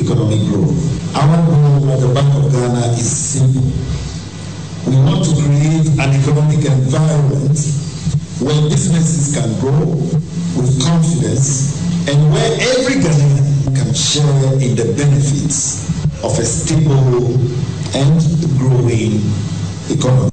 economic growth. Our goal at the Bank of Ghana is simple. We want to create an economic environment where businesses can grow with confidence and where every Ghanaian can share in the benefits of a stable and growing economy.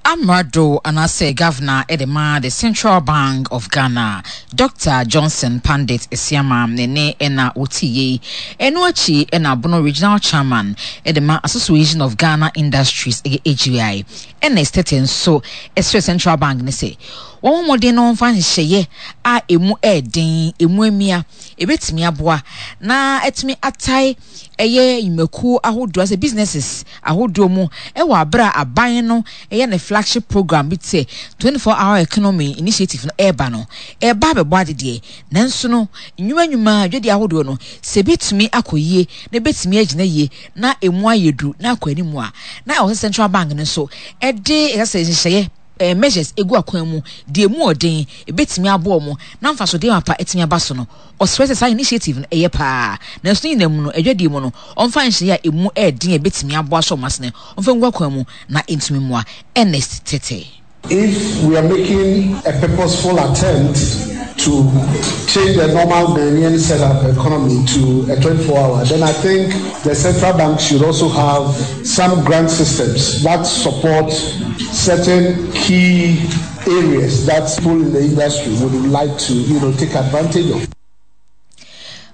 Amrado anaasɛ Governor de ma the Central Bank of Ghana, Dɔkta Johnson Pandit Asiamah ne ne na wɔtii yei. Ɛno akyi na Bono Regional Chairman de ma Association of Ghana Industries, ɛyɛ AGI, Ernest Tetteh nso srɛɛ Central Bank no sɛ wɔmmɔ mmɔden na wɔmfa nhyehyɛeɛ a ɛmu yɛ den, ɛmu amia, ɛbɛtumi aboa na atumi atae ɛyɛ nnwumakuo ahodoɔ asɛ businesses ahodoɔ mu wɔ aberɛ a aban no yɛ ne flagship program bi te sɛ 24 hour economy initiative no ɛreba no, ɛreba abɛbɔ ade deɛ, nanso no nnwuma nnwuma dwadie ahodoɔ no sɛ ɛbɛtumi akɔ yie na ɛbɛtumi agyina yie na ɛmu ayɛ duru na akɔ anim a, na ɛwɔ sɛ central bank no nso ɛde ɛsɛ sɛ nhyehyɛeɛ eh, measures egu akwan mu deɛ emu ɔden ebetumi aboa wɔn na mfasodeɛ mapa atumi aba so no. Ɔsrɛ sɛ saa initiative no ɛyɛ paa, nanso ne nyinaa mu no, adwadie mu no, ɔmfa nhyehyɛeɛ a emu yɛ den a ɛbɛtumi aboa asɔ wɔn asene, ɔmfa ngu akwan mu na ɛntumi mmoa. Ernest Tetteh. If we are making a purposeful attempt to change the normal Ghanaian setup economy to a 24-hour, then I think the central bank should also have some grant systems that support certain key areas that people in the industry would like to, you know, take advantage of.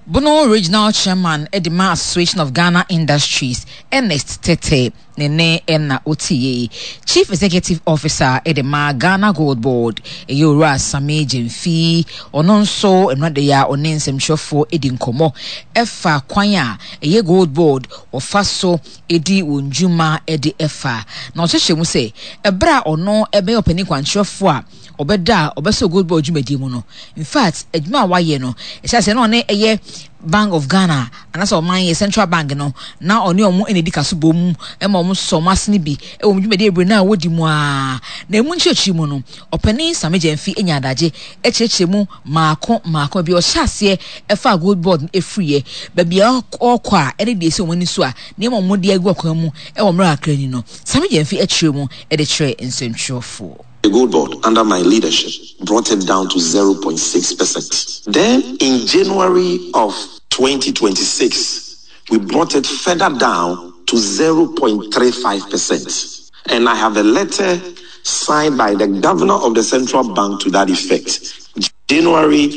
Bono Regional Chairman de ma Association of Ghana Industries, Ernest Tetteh, ne nne na wotie yi. Chief Executive Officer de ma Ghana Gold Board, ɛyɛ Owura Sammy Gyamfi, ɔno nso nnora da yi a ɔne nsɛmtwerɛfoɔ di nkɔmmɔ ɛfa kwan a ɛyɛ Gold Board wɔfa so di wɔn dwuma de fa. Na ɔkyerɛkyerɛ mu sɛ, ɛberɛ a ɔno bɛyɛ ɔpanin kwankyerɛfoɔ a ɔbɛda a ɔbɛsɔ Gold Board dwumadie mu no, in fact, adwuma a wayɛ no, ɛhyɛ aseɛ na ɔne ɛyɛ Bank of Ghana anaasɛ ɔman yɛ Central Bank no, na ɔne ɔmo na ɛdi kaso bom ma ɔmo sɔ ɔmo asene bi wɔ ɔmo dwumadie bebree no a wɔdi mu ara. Na ɛmu nkyerɛkyerɛ mu no, ɔpanin Sammy Gyamfi anya adagye kyerɛkyerɛ mu mmaako mmaako baabi a ɔhyɛ aseɛ ɛfaa Gold Board no ɛfiriiɛ, baabi a ɔrekɔ a ɛne deɛ ɛsi wɔn ani so a nneɛma a wɔde agu akwan mu wɔ mmerɛ kakra ni no, Sammy Gyamfi kyerɛ mu de kyerɛɛ nsɛntwerɛfoɔ. The Gold Board, under my leadership, brought it down to 0.6%. Then in January of 2026, we brought it further down to 0.35%. And I have a letter signed by the governor of the central bank to that effect. January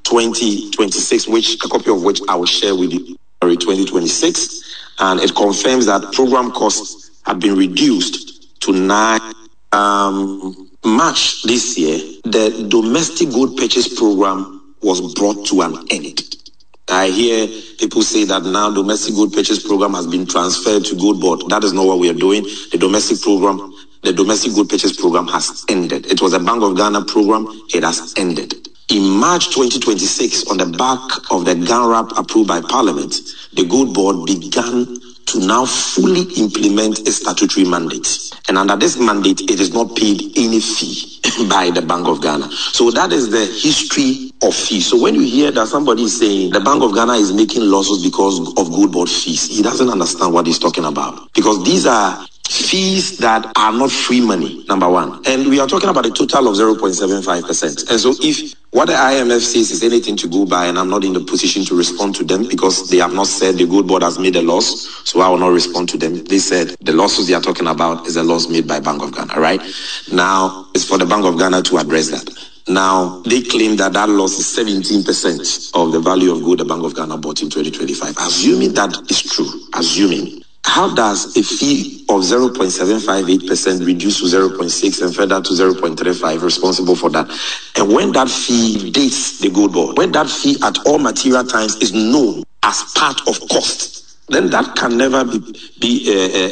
2026, which a copy of which I will share with you. January 2026, and it confirms that program costs have been reduced to 9 um, March this year, the domestic gold purchase program was brought to an end. I hear people say that now domestic gold purchase program has been transferred to gold board. That is not what we are doing. The domestic program, the domestic gold purchase program has ended. It was a Bank of Ghana program. It has ended. In March 2026, on the back of the GANRAP approved by Parliament, the Gold Board began to now fully implement a statutory mandate. And under this mandate, it is not paid any fee by the Bank of Ghana. So that is the history of fees. So when you hear that somebody is saying the Bank of Ghana is making losses because of gold board fees, he doesn't understand what he's talking about. Because these are fees that are not free money, number one. And we are talking about a total of 0.75%. And so if what the IMF says is anything to go by, and I'm not in the position to respond to them because they have not said the gold board has made a loss, so I will not respond to them. They said the losses they are talking about is a loss made by Bank of Ghana, right? Now, it's for the Bank of Ghana to address that. Now, they claim that that loss is 17% of the value of gold the Bank of Ghana bought in 2025. Assuming that is true, assuming, how does a fee of 0.758% reduce to 0.6 and further to 0.35 responsible for that? And when that fee dates the gold board, when that fee at all material times is known as part of cost, then that can never be, be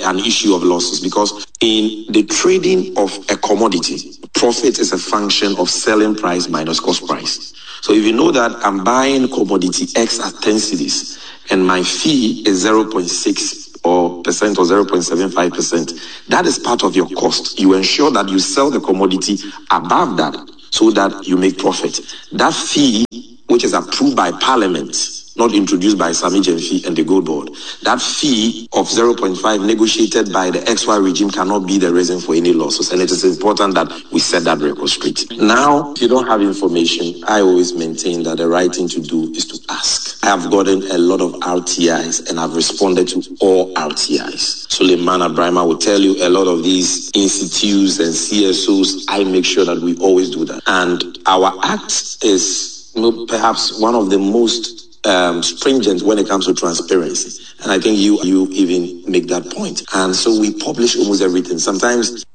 uh, uh, an issue of losses because in the trading of a commodity, profit is a function of selling price minus cost price. So if you know that I'm buying commodity X at 10 cedis and my fee is 0.6 or percent or 0.75 percent, that is part of your cost. You ensure that you sell the commodity above that so that you make profit. That fee which is approved by Parliament, not introduced by Sami Genfi and the Gold Board. That fee of 0.5 negotiated by the XY regime cannot be the reason for any losses. And it is important that we set that record straight. Now, if you don't have information, I always maintain that the right thing to do is to ask. I have gotten a lot of RTIs and I've responded to all RTIs. Suleiman Abrahima will tell you a lot of these institutes and CSOs, I make sure that we always do that. And our act is you know, perhaps one of the most um, stringent when it comes to transparency. And I think you you even make that point. And so we publish almost everything. Sometimes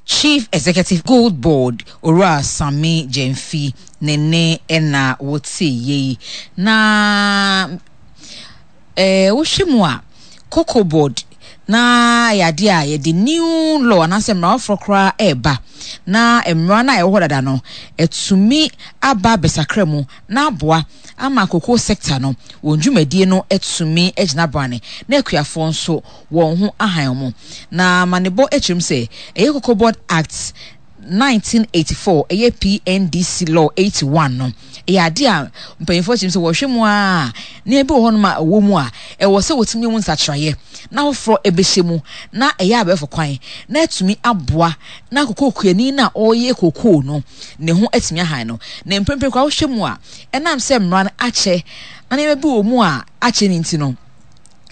Chief Executive Gold Board Owura Sammy Gyamfi ne nne na wotee yei. Na eh, wohwɛ mu a, Cocoa Board na ɛyɛ adeɛ a yɛde new law anaasɛ mmara foforɔ koraa ɛreba na mmara no a ɛwɔ hɔ dada no atumi aba abɛsakra mu na aboa ama cocoa sector no wɔn dwumadie no atumi agyina brane na akuafoɔ nso wɔn ho ahan wɔn. Na amanebɔ kyerɛ mu sɛ ɛyɛ Cocoa Board Act 1984, ɛyɛ PNDC Law 81 no, ɛyɛ adeɛ a mpanyinfoɔ kyerɛ mu sɛ wɔhwɛ mu a nneɛma bi wɔ hɔnom a ɛwɔ mu a ɛwɔ sɛ wɔtumi mu nsakyeraeɛ na foforɔ ɛbɛhyɛ mu na ɛyɛ abɛɛfo kwan na atumi aboa na kokoo kuani no a ɔreyɛ kokoo no ne ho atumi ahan no. Na mprempren koraa wohwɛ mu a ɛnam sɛ mmara no akyɛ na nneɛma bi wɔ mu a akyɛ no nti no,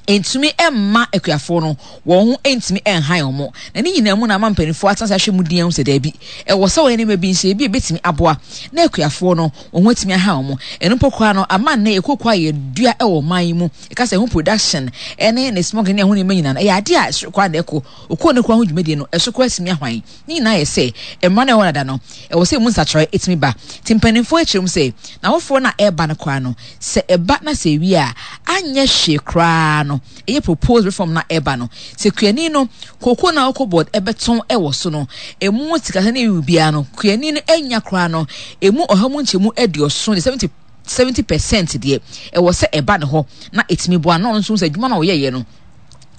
Entumi mma akuafoɔ no wɔn ho ntumi nhan wɔn. Na ne nyinaa mu na ama mpanimfoɔ atena ase ahwɛ mu din ahu sɛ daabi, ɛwɔ sɛ wɔyɛ nneɛma bi nhyɛ bi a ebetumi aboa na akuafoɔ no wɔn ho atumi ahan wɔn. Ɛno mpo koraa no, ama nnɛ yɛ kooko a yɛdua wɔ ɔman yi mu, yɛka sɛ ɛho production ne ne smuggling ne ɛho nneɛma nyinaa no, ɛyɛ adeɛ a ɛsoro koraa na ɛkɔ. Okoo no koraa ho dwumadie no, ɛso koraa atumi ahwan. Ne nyinaa yɛ sɛ mmara no a ɛwɔ dada no, ɛwɔ sɛ emu nsakyeraɛ tumi ba. Nti mpanimfoɔ kyerɛ mu sɛ, n'awofoɔ no a ɛreba no koraa no, sɛ ɛba na sɛ ɛwie a, anyɛ hwee koraa no, ɛyɛ proposed reform no a ɛreba no, sɛ kuani no, kookoo no a ɔkɔ board bɛtɔn wɔ so no, emu sikasɛm ne biribiara no, kuani no anya koraa no, emu ɔha mu nkyɛmu aduɔson de 70 70% deɛ, ɛwɔ sɛ ɛba ne hɔ na ɛtumi boa no, na ɔno nso hu sɛ adwuma no a ɔyɛeɛ no,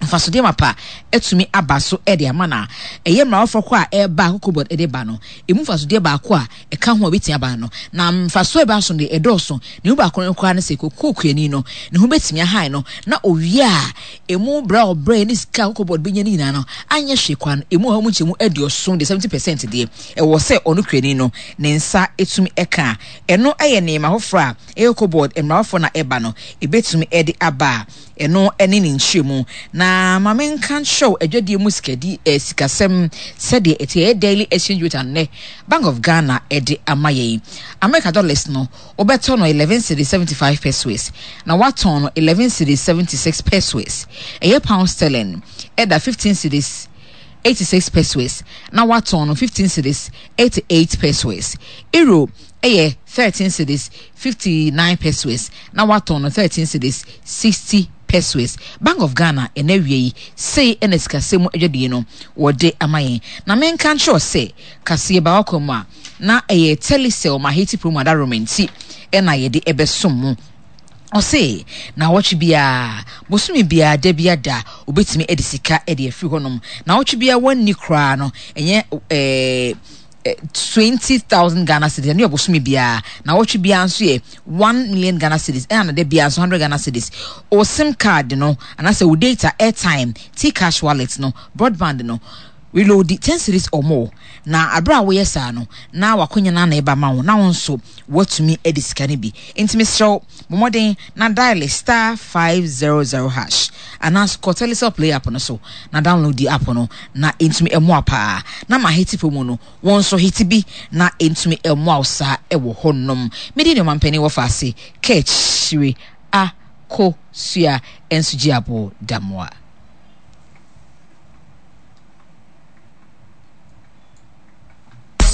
mfasodeɛ mapa atumi aba so de ama no a, ɛyɛ mmara foforɔ kɔ a ɛreba a Cocobod de ba no, ɛmu mfasodeɛ baako a ɛka ho a ɛbɛtumi aba no, na mfasoɔ a ɛba so no deɛ ɛdɔɔso. Ne mu baako no koraa ne sɛ kokoo kuani no, ne ho bɛtumi ahan no, na owie a, ɛmu brɛ a ɔbrɛ ne sika a Cocobod bɛnya no nyinaa no, anyɛ hwee koraa no, ɛmu ɔha mu nkyɛmu aduɔson deɛ, 70 percent deɛ, ɛwɔ sɛ ɔno kuani no, ne nsa tumi ka. Ɛno yɛ nneɛma foforɔ a ɛyɛ Cocobod mmara foforɔ no a ɛba no, ɛbɛtumi de aba a. Ɛno ne ne nkyerɛmu. Na ma menka nkyerɛ wo adwadie mu sikadi eh, sikasɛm sɛdeɛ ɛte. Ɛyɛ daily exchange rate a nnɛ Bank of Ghana de ama yɛn. America dollars no, wobɛtɔ no 11 cedis 75 pesewas, na woatɔn no 11 cedis 76 pesewas. Ɛyɛ pound sterling ɛda 15 cedis 86 pesewas, na woatɔn no 15 cedis 88 pesewas. Euro yɛ 13 cedis 59 pesewas na watɔn no 13 cedis 60 pesewas. Bank of Ghana ɛna awia yi sei ɛna sikasɛm mu adwadie no wɔde ama yɛn. Na menka nkyerɛ wo sɛ kaseɛ ba wakwan mu a na ɛyɛ Telecel ma Haiti promo adaworoma nti ɛna yɛde ɛbɛsom mo. Ɔse naawɔtwe biara, bosome biara, da biara da obetumi de sika de afiri hɔnom. Naawɔtwe biara wanni koraa no ɛnyɛ ɛɛ 20,000 Ghana cedis ɛno yɛ bosome biara. Naawɔtwe biara nso yɛ 1 million Ghana cedis ɛna na da biara nso 100 Ghana cedis. O sim card no anaasɛ wo data, airtime, T-cash wallet no, broadband no reload 10 cedis or more. Na aberɛ a woyɛ saa no na wakonya no ana ɛba ma wo na wo nso woatumi adi sika no bi. Enti mesrɛ wo, bɔ mmɔden na dial star 500 hash anaa kɔ Telecel Play app no so na download di app no na ɛntumi mmoa paa. Na ma hiti promo no, wo nso hiti bi na ɛntumi mmoa wo saa ɛwɔ hɔnom. Me din ne Ɔmampanin Wɔfaase Kaakyire Akosua Nsujiabo Damoah.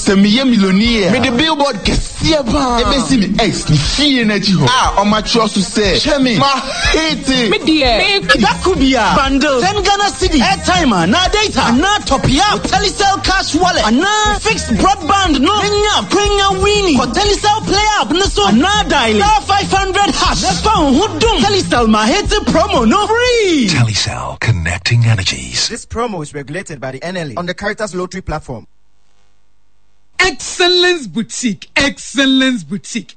Sɛ meyɛ millionaire a, mede billboard kɛseɛ paa ɛbɛsi me ex ne fie no akyi hɔ a wɔatwerɛ so sɛ, Hwɛ me, mahete. Me deɛ, me. Da ko biara, bundle ten Ghana cedi, airtime anaa data, anaa top up wo Telecel Cash Wallet anaa fixed broadband no na nya akwanya winni. Kɔ Telecel Play app no so anaa diale star 500 hash na fa wo ho dom Telecel Mahete promo no free. Telecel, connecting energies. This promo is regulated by the NLA on the Caritas Lottery platform. Excellence Boutique, Excellence Boutique.